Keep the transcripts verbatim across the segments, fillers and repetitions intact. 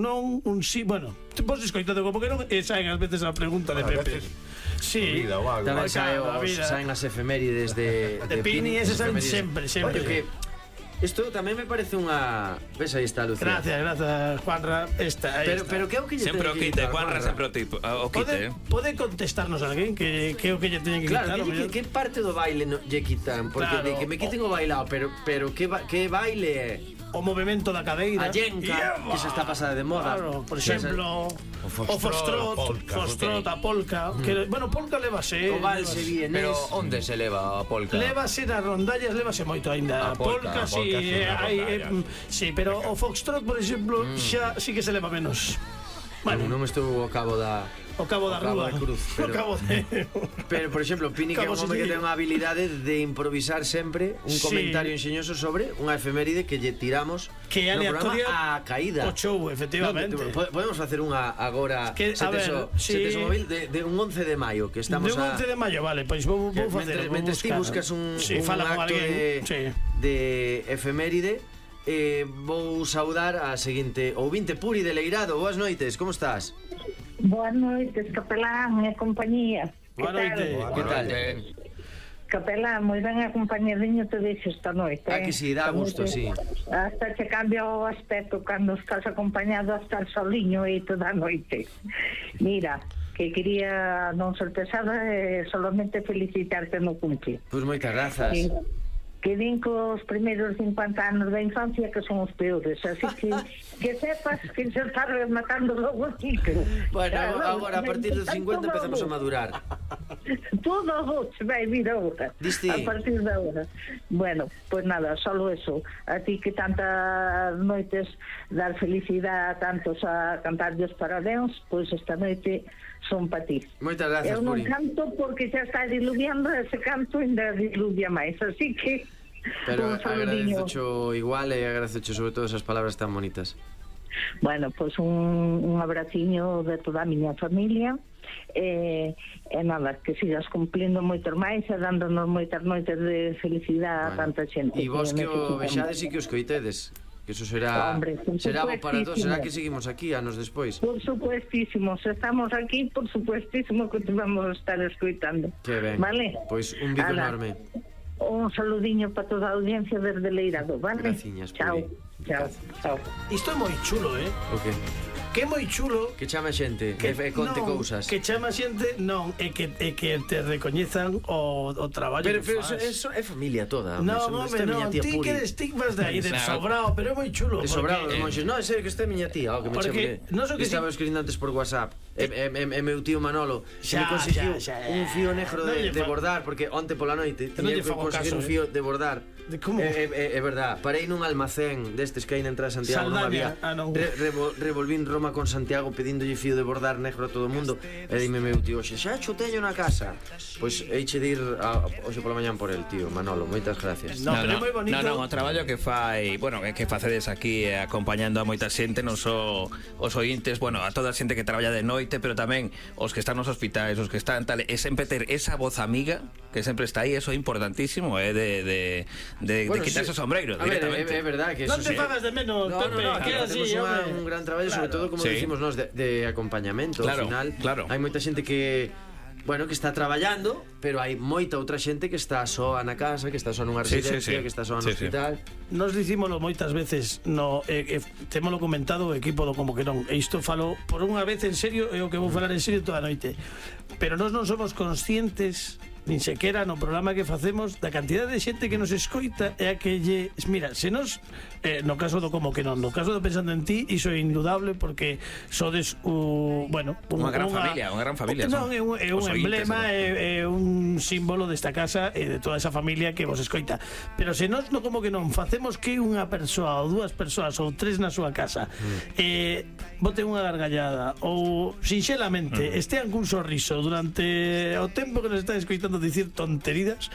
non, un sí, bueno, vos escoitade como que non, e saen ás veces a pregunta de Pepe. Sí, tamén saen as efemérides de de Pini, ese saen sempre, sempre. Oye, que isto tamén me parece unha... Ves, aí está, Lucía. Gracias, gracias, Juanra. Esta, pero, pero que é o que lle sempre o quite, Juanra sempre o quite. Pode contestarnos alguén que é o que lle teñen que quitar? Claro, que parte do baile lle quitan? Porque de que me quiten o bailao, pero que baile é? O movimento da cadeira, a yenca, que se está pasada de moda. Claro, por exemplo, o foxtrot, foxtrot, a polka, que, bueno, polka levase, o valse vienes. Pero onde se leva a polka? Levase nas rondallas, levase moito aínda. A polka, si, hai, si, pero o foxtrot, por exemplo, xa sí que se leva menos. Non me estou ao cabo da O cabo da rúa, o cabo de... Pero, por exemplo, Pini que é un home que ten unha habilidade de improvisar sempre un comentario enxeñoso sobre unha efeméride que lle tiramos que no programa a caída. O show, efectivamente. Podemos facer unha agora, se tes o móvil, de un once de maio, que estamos a... De un once de maio, vale, pois vou facer. Mentres ti buscas un acto de efeméride, vou saudar a seguinte ouvinte, Puri de Leirado. Boas noites, como estás? Boas noites, capelán e compañía. Boa noite. Que tal? Capelán, moi ben acompañadiño te deixo esta noite. Ah, que si, dá gusto, si. Hasta che cambia o aspecto cando estás acompañado a estar soliño e toda a noite. Mira, que quería non ser pesada e solamente felicitarte no cumple. Pois moitas grazas. Que din que os primeiros cincuenta anos da infancia que son os peores, así que que sepas que se está rematando logo o ciclo. Bueno, agora a partir dos cincuenta empezamos a madurar. Todo se vai vir agora. A partir de agora. Bueno, pues nada, solo eso. A ti que tantas noites dar felicidade a tantos a cantarlles parabéns, pois esta noite son para ti. Moitas gracias, Puri. Eu non Puri. canto porque xa está diluviando, ese canto ainda diluvia máis, así que pero agradezocho igual e agradezocho sobre todo esas palabras tan bonitas. Bueno, pois pues un, un abraciño de toda a miña familia e, e nada, que sigas cumplindo moitos máis e dándonos moitas noites de felicidade bueno. a tanta xente. E vos que, que o vexades e que os coitedes, que eso será Hombre, será bo para todos, será que seguimos aquí anos despois. Por supuestísimo, se estamos aquí, por supuestísimo que te vamos a estar escoitando. Que ben, vale? Pois un bico Ala. enorme. Un saludiño para toda a audiencia desde Leirado, vale? Graciñas, chao, chao, chao. Isto é moi chulo, eh? O que? Que é moi chulo que chama xente, que e conte non, cousas. Que chama xente, non, é que é que te recoñezan o, o traballo pero, que pero faz. Pero eso é familia toda. Non, home, non, ti que estigmas de aí, de sobrao, pero é moi chulo. De sobrao, os monxes, non, é serio que este é miña tía, o que me chame. Non so que estaba escribindo antes por WhatsApp. E meu tío Manolo se me conseguiu un fío negro de bordar, porque onte pola noite tiña que conseguir un fío de bordar. Como? É verdad, parei nun almacén destes que hai na entrada de Santiago, non había. Revolvín Roma con Santiago pedíndolle fío de bordar negro a todo o mundo. E dime meu tío, xe, xa cho teño na casa. Pois eiche de ir hoxe pola mañán por el, tío Manolo, moitas gracias. No, pero é moi bonito. Non, non, o traballo que fai, bueno, que facedes aquí acompañando a moita xente, non só os ointes, bueno, a toda a xente que traballa de noite, pero tamén os que están nos hospitais, os que están tal, e sempre ter esa voz amiga que sempre está aí, eso é importantísimo, é de de de, bueno, de quitarse sí. o sombreiro directamente. É verdad que eso non te sí. fagas de menos, no, Pepe, no, no, que claro, así, temos un gran traballo, claro. Sobre todo como sí. decimos nós de, de acompañamento, claro, ao final. Claro. Hai moita xente que bueno, que está traballando, pero hai moita outra xente que está soa na casa, que está soa nunha residencia, sí, sí, sí. que está soa no sí, hospital. Sí. Nos dicímolo moitas veces, no, eh, eh, temolo comentado o equipo do Como que non. E isto falo por unha vez en serio, é o que vou falar en serio toda a noite. Pero nós non somos conscientes nin sequera no programa que facemos da cantidad de xente que nos escoita e a que lle... Mira, se nos... Eh, no caso do Como que non, no caso do Pensando en Ti, iso é indudable porque sodes o... Bueno, unha gran una, familia, unha gran familia. Non, é un, é un emblema, é, é un símbolo desta casa e de toda esa familia que vos escoita. Pero se nos no Como que non facemos que unha persoa ou dúas persoas ou tres na súa casa mm. eh, bote unha gargallada ou sinxelamente mm. estean cun sorriso durante o tempo que nos están escoitando dicir tonterías,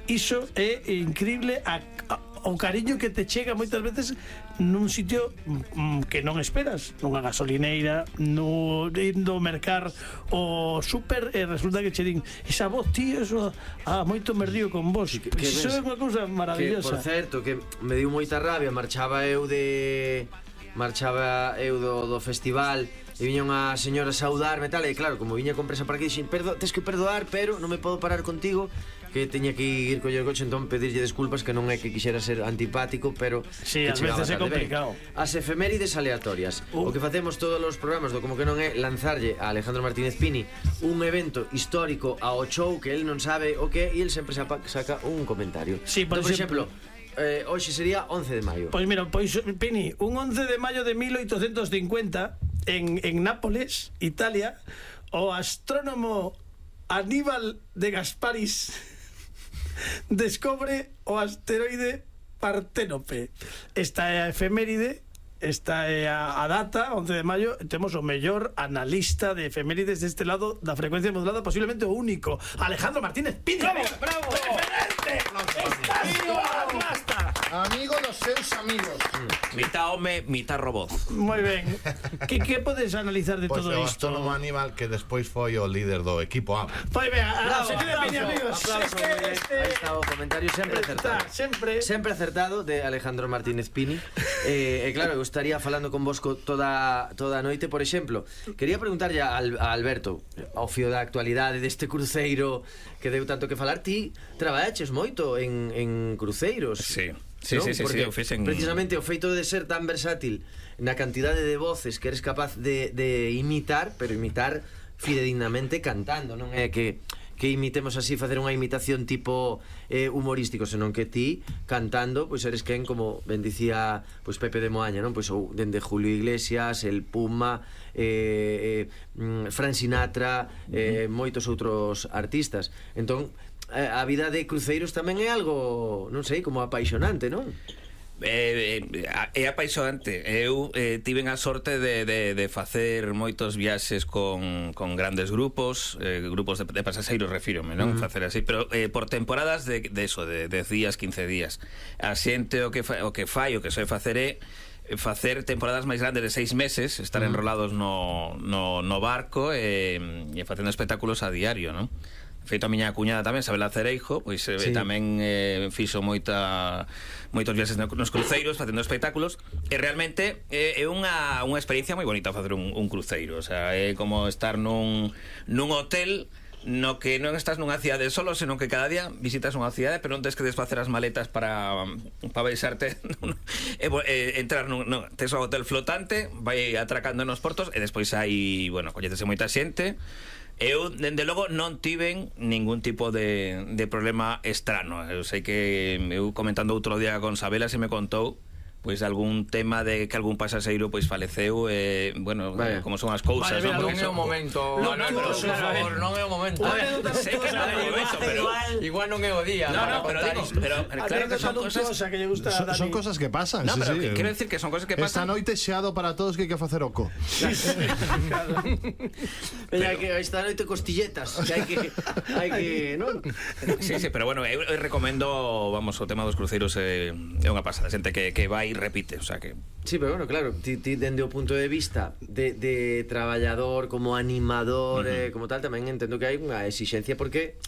iso é increíble a, a, o cariño que te chega moitas veces nun sitio mm, que non esperas, nunha gasolineira, no indo mercar o súper e resulta que che din esa voz, tío, eso, ah, moito me río con vos. Que, pues que iso é unha cousa maravillosa. Que, por certo, que me diu moita rabia, marchaba eu de marchaba eu do, do festival e viña unha señora a saudarme e tal, e claro, como viña con presa para aquí, dixen, perdo, tes que perdoar, pero non me podo parar contigo, que teña que ir coller o coche, entón pedirlle desculpas, que non é que quixera ser antipático, pero sí, ás veces é complicado. Ben, as efemérides aleatorias. Uh. O que facemos todos os programas do Como que non é lanzarlle a Alejandro Martínez Pini un evento histórico ao show que él non sabe o que, e él sempre saca un comentario. Sí, por, entón, por exemplo, exemplo, eh, hoxe sería once de maio. Pois mira, pois Pini, un once de maio de mil oitocentos cincuenta en, en Nápoles, Italia, o astrónomo Aníbal de Gasparis descobre o asteroide Parténope. Esta é a efeméride, esta é a, a data, once de maio. Temos o mellor analista de efemérides deste lado da frecuencia modulada, posiblemente o único, Alejandro Martínez Pini. ¡Bravo! ¡Bravo! ¡Referente! ¡Estás plasta! Amigo dos seus amigos. Mitad home, mitad robot. Moi ben. Que, que podes analizar de Pois todo o isto? astrónomo Aníbal, que despois foi o líder do equipo A. Pois ben, a, Bravo, a sección de Pini, amigos. Aplauso, Este, moi ben. este, Aí está o comentario sempre acertado. Está, sempre. Sempre acertado de Alejandro Martínez Pini. E eh, eh, claro, eu estaría falando con vosco toda, toda a noite. Por exemplo, quería preguntarlle a, a Alberto, ao fío da actualidade deste cruceiro que deu tanto que falar. Ti traballaches moito en, en cruceiros. Sí. Sí, ¿no? sí, sí, porque sí, o fixen... precisamente o feito de ser tan versátil na cantidade de voces que eres capaz de, de imitar, pero imitar fidedignamente cantando, non é que que imitemos así, facer unha imitación tipo eh, humorístico, senón que ti cantando, pois eres quen, como ben dicía pois Pepe de Moaña, non? Pois ou dende Julio Iglesias, el Puma, eh, eh, Frank Sinatra, eh, moitos outros artistas. Entón, a vida de cruceiros tamén é algo, non sei, como apaixonante, non? Eh, eh, é apaixonante. Eu eh, tiven a sorte de, de, de facer moitos viaxes con, con grandes grupos, eh, grupos de, de pasaxeiros, refírome, non? Uh-huh. Facer así, pero eh, por temporadas de, de eso, de dez días, quince días. A xente o que, fa, o que fai, o que soe facer é facer temporadas máis grandes de seis meses, estar uh-huh. enrolados no, no, no barco e, e facendo espectáculos a diario, non? Feito a miña cuñada tamén, Sabela Cereijo, pois eh, sí. tamén eh, fixo moita moitos viaxes nos cruceiros facendo espectáculos, e realmente eh, é unha, unha experiencia moi bonita facer un, un cruceiro, o sea, é como estar nun, nun hotel no que non estás nunha cidade solo, senón que cada día visitas unha cidade, pero non tens que desfacer as maletas para para baixarte e, e, entrar nun, non, tes o hotel flotante, vai atracando nos portos e despois hai, bueno, coñecese moita xente. Eu, dende logo, non tiven ningún tipo de, de problema estrano. Eu sei que eu comentando outro día con Sabela se me contou pois algún tema de que algún pasaxeiro pois faleceu, eh, bueno, vale. como son as cousas, vale, non é o momento. No, no, pero, por favor, non é o momento. Sei que non é o momento, pero igual non é o día. No, no, pero digo, pero claro que son cosas que lle gusta son, son cosas que pasan. No, sí, pero sí. quero decir que son cosas que pasan. Esta noite xeado para todos que hai que facer oco. Sí, sí. Pero que esta noite costilletas, que hai que hai que, non? Sí, sí, pero bueno, eu, eu recomendo, vamos, o tema dos cruceiros é, é unha pasada, xente que que vai repite, o sea que... Sí, pero bueno, claro, ti, ti dende o punto de vista de, de traballador, como animador, uh-huh. eh, como tal, tamén entendo que hai unha exixencia, porque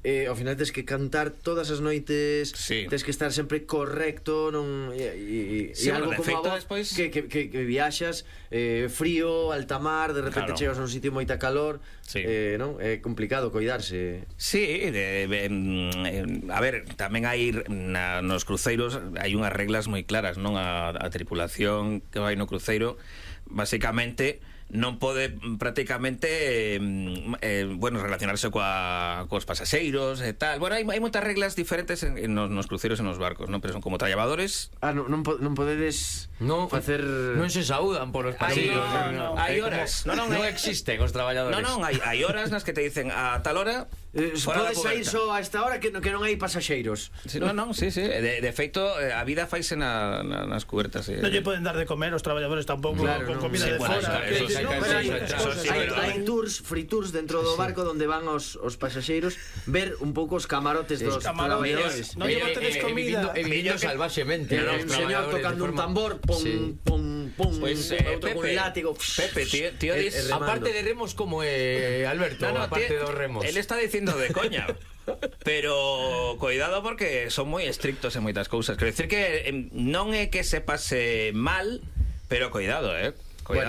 eh, ao final tens que cantar todas as noites, sí. tens que estar sempre correcto, non e, e, sí, e algo bueno, como a vos despois... que, que, que, que viaxas eh, frío, alta mar, de repente claro. chegas a un sitio moita calor, sí. eh, non? É complicado coidarse. Sí, de, de, de, a ver, tamén hai na, nos cruceiros hai unhas reglas moi claras, non? A, a tripulación que vai no cruceiro basicamente non pode prácticamente eh, eh, bueno, relacionarse coa, coas pasaxeiros e tal. Bueno, hai, hai moitas reglas diferentes en, en nos, nos cruceros e nos barcos, non? Pero son como traballadores. Ah, non, non, non podedes no, facer... Non se saúdan por os pasaxeiros. No, no, hai horas. No, non, non existen os traballadores. No, non, hai, hai horas nas que te dicen a tal hora Eh, podes sair só a esta hora que, no, que non hai pasaxeiros. Sí, non, non, sí, sí. De, de feito, a vida faise na, na, nas cubertas. Eh. Non lle poden dar de comer os traballadores tampouco, claro, con comida sí, de bueno, fora. Eso, eso, eso, eso, hai tours, free tours dentro do barco donde van os, os pasaxeiros ver un pouco os camarotes sí, dos traballadores. Non lle botedes comida. E vivindo salvaxemente. Un señor tocando un tambor, pum, pum, pum, pues, eh, outro con un látigo. Pepe, tío, tío dis... Aparte de remos como eh, Alberto, no, no, aparte dos remos. Él está dicindo de coña. Pero cuidado porque son moi estrictos en moitas cousas. Quero dicir que non é que se pase mal, Pero cuidado, eh. Cuidado.